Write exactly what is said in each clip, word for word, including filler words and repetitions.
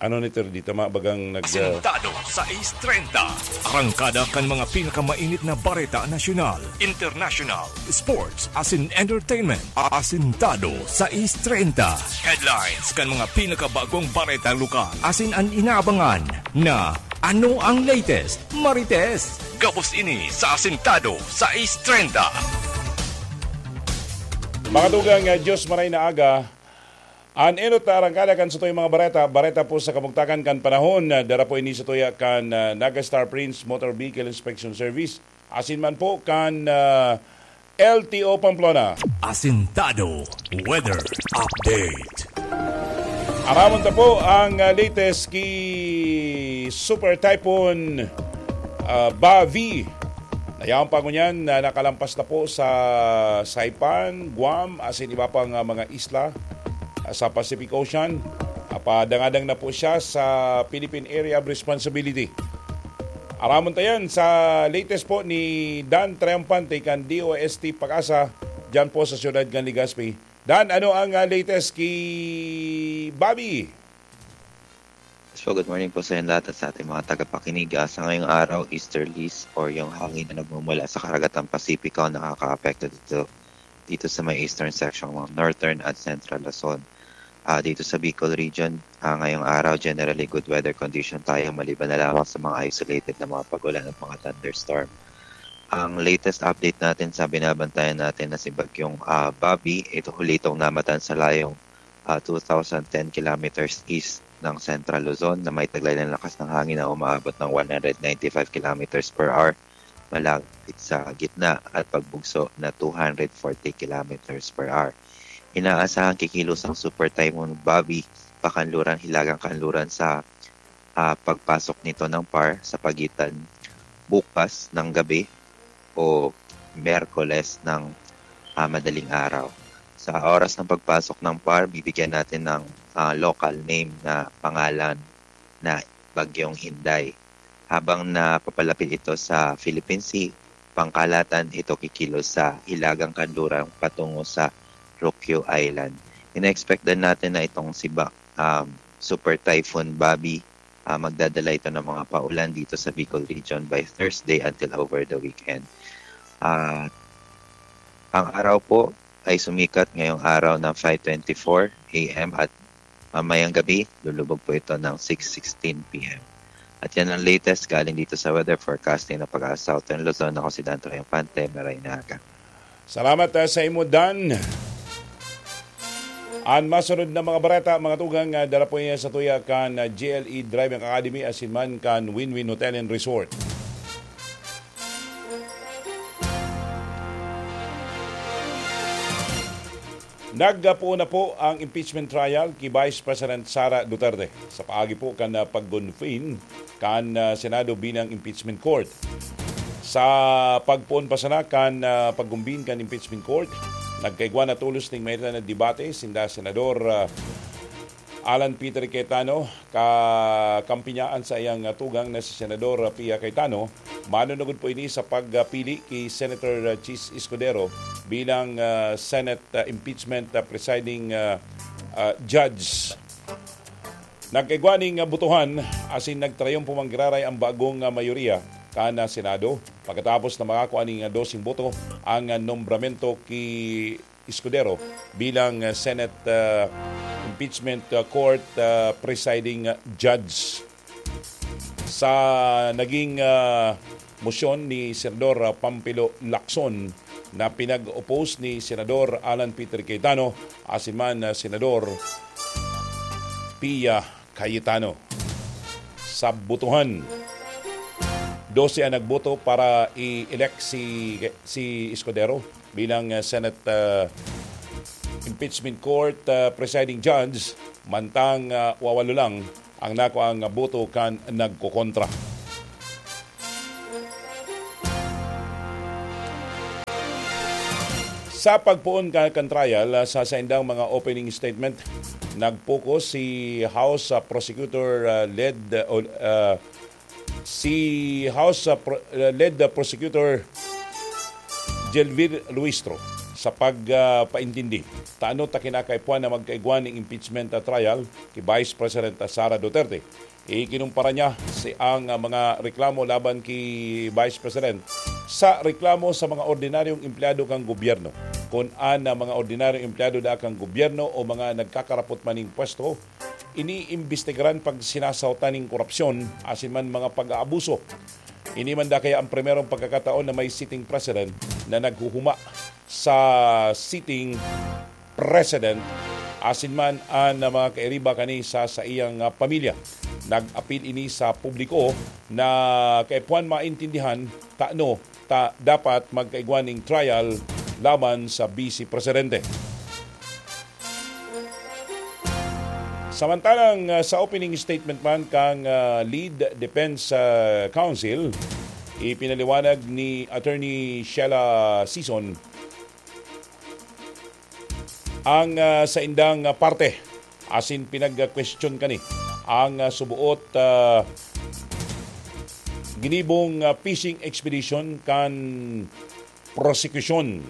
Ano ni Terdita, mabagang nag- Asintado sa Ace treinta. Arangkada kan mga pinakamainit na bareta nasyonal, international, sports, asin entertainment. Asintado sa Ace treinta. Headlines kan mga pinakabagong bareta lokal. Asin an inaabangan na ano ang latest, Marites. Gabos ini sa Asintado sa Ace treinta. Mga tugang, ah, Diyos maray na aga. An enot na arangkada kan satuyang mga bareta, bareta po sa kamugtakan kan panahon, ah, dara po ini sa tuya kan, ah, Naga Star Prince Motor Vehicle Inspection Service, asin man po kan, ah, L T O Pamplona. Asintado Weather Update. Aramon ta po ang, ah, latest ki Super Typhoon, ah, Bavi. Nayaon pa ngunyan na nakalampas na po sa Saipan, Guam, asin iba pang, ah, mga isla, ah, sa Pacific Ocean. Ah, padangadang na po siya sa Philippine Area of Responsibility. Aramon ta yan sa latest po ni Dan Triumphante kan D O S T Pag-asa, dyan po sa siyudad kan Legazpi. Dan, ano ang, ah, latest ki Bobby? So, good morning po sa inyo lahat at sa ating mga tagapakinig. Ah, sa ngayong araw, easterlies or yung hangin na nagmumula sa Karagatang Pasipiko ang nakakaapekto dito, dito sa may eastern section ng northern at central Luzon. Ah, dito sa Bicol region, ah, ngayong araw, generally good weather condition tayo maliban na lamang sa mga isolated na mga pag-ulan at mga thunderstorm. Ang latest update natin sa binabantayan natin na si Bagyong, ah, Bobby, ito huli itong namatan sa layong, ah, two thousand ten kilometers east ng Central Luzon na may taglay ng lakas ng hangin na umaabot ng one hundred ninety-five kilometers per hour, malapit sa gitna at pagbugso na two hundred forty kilometers per hour. Inaasahan kikilos ang Super Typhoon Bobby pakanluran, hilagang kanluran sa, ah, pagpasok nito ng par sa pagitan bukas ng gabi o Miyerkules ng, ah, madaling araw. Sa oras ng pagpasok ng par, bibigyan natin ng, ah, local name na pangalan na Bagyong Inday. Habang napapalapit ito sa Philippine Sea, pangkalahatan ito kikilos sa hilagang kanluran patungo sa Ryukyu Island. Ina-expect din natin na itong si Ba-, um, Super Typhoon Bobby, ah, magdadala ito ng mga paulan dito sa Bicol region by Thursday until over the weekend. At ang araw po ay sumikat ngayong araw ng five twenty-four A M at mamayang gabi, lulubog po ito ng six sixteen P M. At yan ang latest galing dito sa weather forecasting ng Pag-asa Southern Luzon. Ako si Dan Triumphante, maray na aga. Salamat, ah, sa imo, Dan. An masunod na mga bareta, mga tugang, ah, dara po niya sa tuya kan, ah, G L E Driving Academy asin man kan Win-Win Hotel and Resort. Nagpoon na po ang impeachment trial ki Vice President Sara Duterte sa paagi po kan, ah, pag-convene kan, ah, Senado bilang impeachment court. Sa pagpoon pa sana kan, ah, pag-convene kan impeachment court, nagkaigwa na tolos ning mahitan na debate sinda Senador, ah, Alan Peter Cayetano, kakampi niya an saiyang tugang na si Senador Pia Cayetano. Manunugod po ini sa pagpili ki Senator Chiz Escudero bilang, ah, Senate, ah, impeachment, ah, presiding, ah, ah, judge. Nagkaigwa ning, ah, botohan asin nagtrayumpo man giraray ang bagong, ah, mayoriya kan, ah, Senado pagkatapos na makakua ning, ah, doseng boto ang, ah, nombramento ki Escudero bilang, ah, Senate, ah, Impeachment, ah, Court, ah, Presiding, ah, Judge. Sa naging, ah, mosyon ni Senador, ah, Pampilo Lacson na pinag-oppose ni Senador Alan Peter Cayetano asin man, ah, Senador Pia Cayetano. Sa botohan, dose ang nagboto para i-elect si, si Escudero bilang, ah, Senate, ah, Impeachment Court, ah, Presiding Judge, mantang, ah, wawalo lang ang nakuang boto kan nagkokontra. Sa pagpoon ka-, kan trial, ah, sa saindang mga opening statement, nag-focus si House, ah, Prosecutor, ah, led, ah, ol-, ah, si House, ah, Pro-, ah, led, ah, Prosecutor Jelvir Luistro sa pag, ah, paintindi ta ano ta kinakaipuhan na magkaigwa ning impeachment, ah, trial ki Vice President, ah, Sara Duterte. Ikinumpara niya si, ang, ah, mga reklamo laban ki Vice President sa reklamo sa mga ordinaryong empleyado kan gobyerno. Kun an, ah, mga ordinaryong empleyado da kan gobyerno o mga nagkakarapot man ning pwesto, iniimbestigaran pag sinasahotan ning korupsyon asin man mga pag-aabuso. Ini man da kaya ang primerong pagkakataon na may sitting president na naghuhuma sa sitting president asin man an mga kairiba kani sa saiyang, ah, pamilya. Nag-apil ini sa publiko na kaipuhan maintindihan ta ano ta dapat magkaigwa ning trial laban sa Vice Presidente. Samantalang, ah, sa opening statement man kan, ah, Lead Defense, ah, Counsel, ipinaliwanag ni Attorney Sheila Sison ang, ah, saindang, ah, parte asin pinag-question kani ang, ah, suboot, ah, ginibong, ah, fishing expedition kan prosekusyon.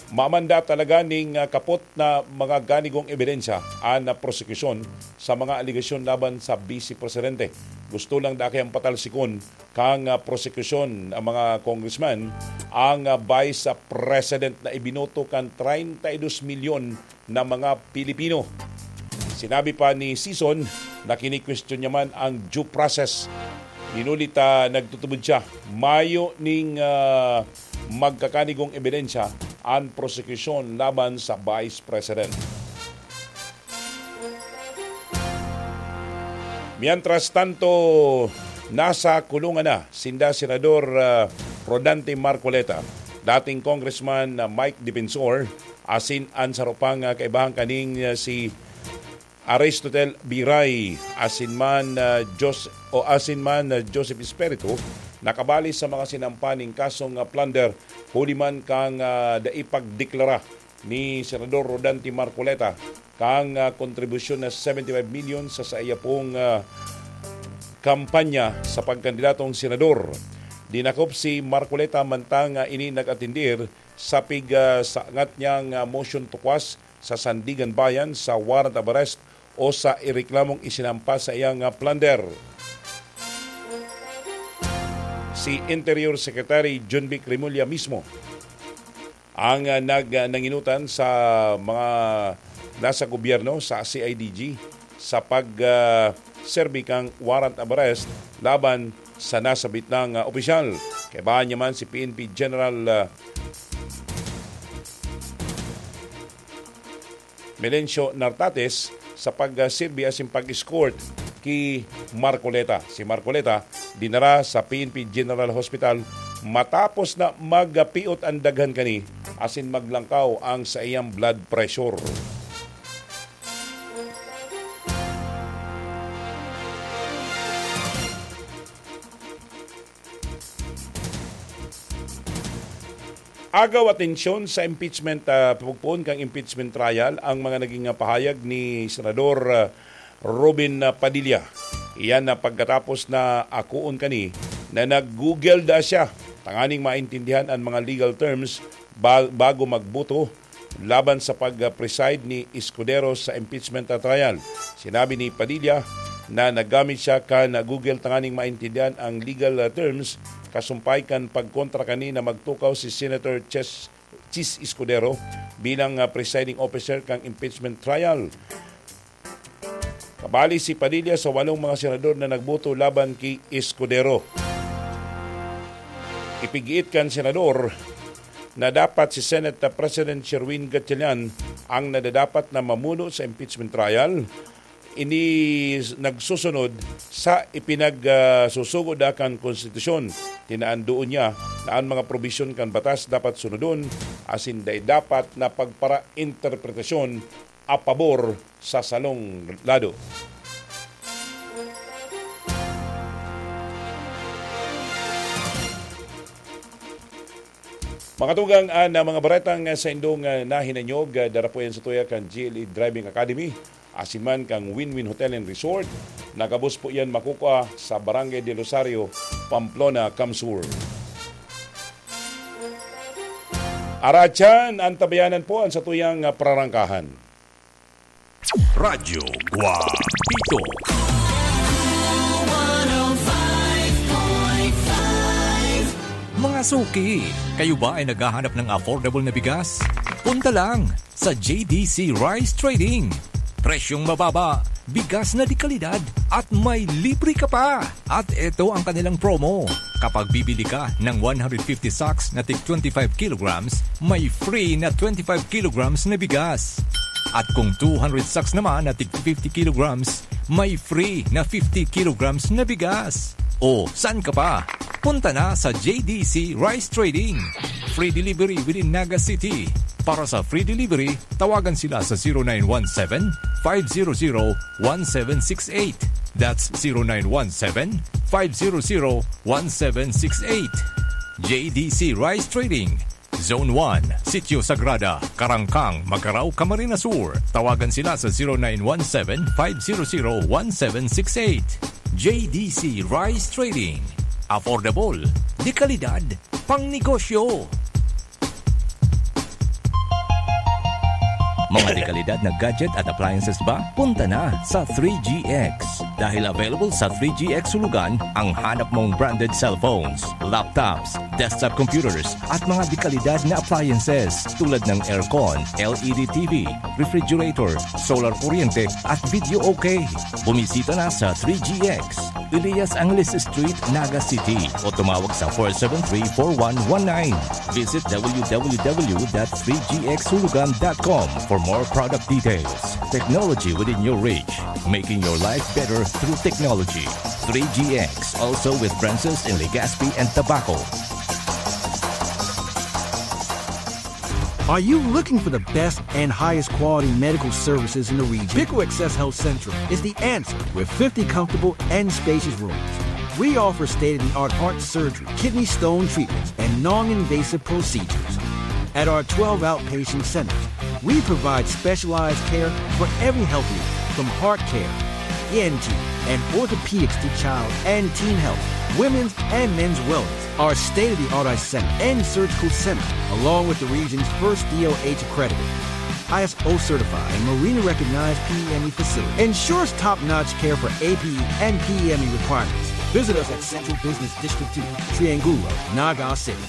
Mamanda talaga ning, ah, kapot na mga ganigong ebidensya an, ah, prosekusyon sa mga alegasyon laban sa Vice Presidente. Gusto lang dai kayang patalsikon kan, ah, prosekusyon ang mga congressman, ang, ah, Vice President na ibinoto kan treinta y dos milyon na mga Pilipino. Sinabi pa ni Sison na kini-question niya man ang due process. Hinuli ta nagtutubod siya, mayo ning, ah, magkakanigong ebidensya an prosekusyon laban sa Vice President. Mientras tanto, nasa kulungan na sinda Senador, ah, Rodante Marcoleta, dating Congressman, ah, Mike Defensor, asin an saro pang, ah, kaibahan kaning, ah, si Aristotel Biray, asin man, ah, Jos-, o asin man, ah, Joseph Espiritu, nakabali sa mga sinampa ning kasong, ah, plunder, huli man kan, ah, dai pagdeklara ni Senador Rodante Marcoleta kan, ah, kontribusyon na seventy-five million sa saiya pong, ah, kampanya sa pagkandidatong senador. Dinakop si Marcoleta mantang, ah, ini nag-atendir sa pig, ah, sangat niyang, ah, motion to quash sa Sandiganbayan sa warrant of arrest o sa ireklamong isinampa sa iyang, ah, plunder. Si Interior Secretary Jonvic Remulla mismo ang, ah, nag-, ah, nanginutan sa mga nasa gobyerno, sa C I D G, sa pag, ah, serbi kan warrant of arrest laban sa nasabit nang, ah, opisyal. Kaibahan niya man si P N P General, ah, Melencio Nartates sa pag, ah, serbi asin pag-escort ki Marcoleta. Si Marcoleta dinara sa P N P General Hospital matapos na magpiot an daghan kani asin maglangkaw ang saiyang blood pressure. Agaw atensyon sa impeachment, ah, pagpoon kan impeachment trial ang mga naging, ah, pahayag ni Senador, ah, Robin, ah, Padilla. Iyan na pagkatapos na akoon kani na nag-Google da siya tanganing maintindihan an mga legal terms ba-, bago magboto laban sa pag-preside ni Escudero sa impeachment trial. Sinabi ni Padilla na naggamit siya kan Google tanganing maintindihan ang legal terms kasumpay kan pagkontra kani na magtukaw si Senator Chis, Chis Escudero bilang, ah, presiding officer kan impeachment trial. Kabali si Padilla sa walong mga senador na nagboto laban ki Escudero. Ipigiit kan senador na dapat si Senate President Sherwin Gatchalian ang nadadapat na mamuno sa impeachment trial. Ini nagsusunod sa ipinag, ah, susugo da kan konstitusyon. Tinaan doon niya na ang mga probisyon kan batas dapat sunodon asin dai dapat na pagpara-interpretasyon a pabor sa salong lado. Mga tugang, ah, na mga baretang, ah, sa indong, ah, nahinanyog, ah, dara po yan sa tuya kan G L E Driving Academy, asin man kan Win-Win Hotel and Resort. Nagabos po yan makukua sa Barangay del Rosario, Pamplona, CamSur. Aratyan, antabayanan po an satuyang, ah, prarangkahan. Radyo Guapito. Mga suki, kayo ba ay naghahanap ng affordable na bigas? Punta lang sa J D C Rice Trading. Presyong mababa, bigas na de kalidad, at may libre ka pa! At eto ang kanilang promo. Kapag bibili ka ng one hundred fifty sacks na tig twenty-five kilograms, may free na twenty-five kilograms na bigas. At kung two hundred sacks naman na tig fifty kilograms, may free na fifty kilograms na bigas. O, saan ka pa? Punta na sa J D C Rice Trading. Free delivery within Naga City. Para sa free delivery, tawagan sila sa zero nine one seven, five zero zero, one seven six eight. That's zero nine one seven, five zero zero, one seven six eight. J D C Rice Trading, Zone one, Sitio Sagrada, Karangkang, Magarao, Camarines Sur. Tawagan sila sa zero nine one seven, five zero zero, one seven six eight. J D C Rice Trading. Affordable, de kalidad, pang negosyo. Mga dekalidad na gadget at appliances ba? Punta na sa three G X. Dahil available sa three G X Hulugan ang hanap mong branded cellphones, laptops, desktop computers, at mga dekalidad na appliances tulad ng aircon, L E D T V, refrigerator, solar kuryente, at video okay. Bumisita na sa three G X, Elias Angeles Street, Naga City, o tumawag sa four seven three, four one one nine. Visit w w w dot three g x hulugan dot com for more product details. Technology within your reach, making your life better through technology. Three G X, also with branches in Legazpi and Tabaco. Are you looking for the best and highest quality medical services in the region? Pico Access Health Central is the answer with fifty comfortable and spacious rooms. We offer state-of-the-art heart surgery, kidney stone treatments, and non-invasive procedures. At our twelve outpatient centers, we provide specialized care for every health need, from heart care, E N T, and orthopedics to child and teen health, women's and men's wellness. Our state-of-the-art eye center and surgical center, along with the region's first D O H accredited, I S O certified, and Marina recognized P E M E facility, ensures top-notch care for A P E and P E M E requirements. Visit us at Central Business District two, Triangulo, Naga City.